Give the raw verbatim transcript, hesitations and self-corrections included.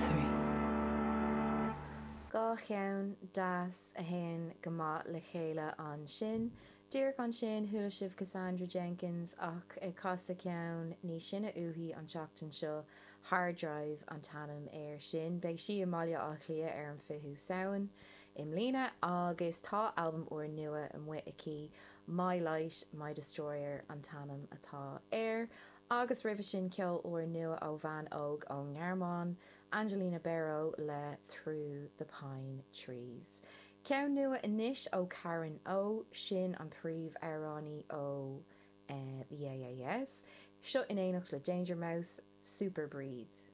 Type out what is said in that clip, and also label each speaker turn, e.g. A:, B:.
A: three.
B: Dhá cheann deas a théann go maith le chéile ansin. Díreach ansin chuala sibh Cassandra Jenkins ach ag casadh ceann níos sine uaithi an tseachtain seo, Hard Drive an t-ainm air sin. Beidh sí i mBaile Átha Cliath ar an fichiú Samhain i mbliana agus tá albam úr nua amuigh aici, My Light, My Destroyer an t-ainm atá air. Agus roimhe sin ceol úr nua ó bhean óg ón nGearmáin, Angelina Bero le Through the Pine Trees. Ceann nua anois ó Karen O, sin an príomhamhránaí ó uh, The Yeah Yeah Yeahs. Seo in éineacht le Danger Mouse, Super Breathe.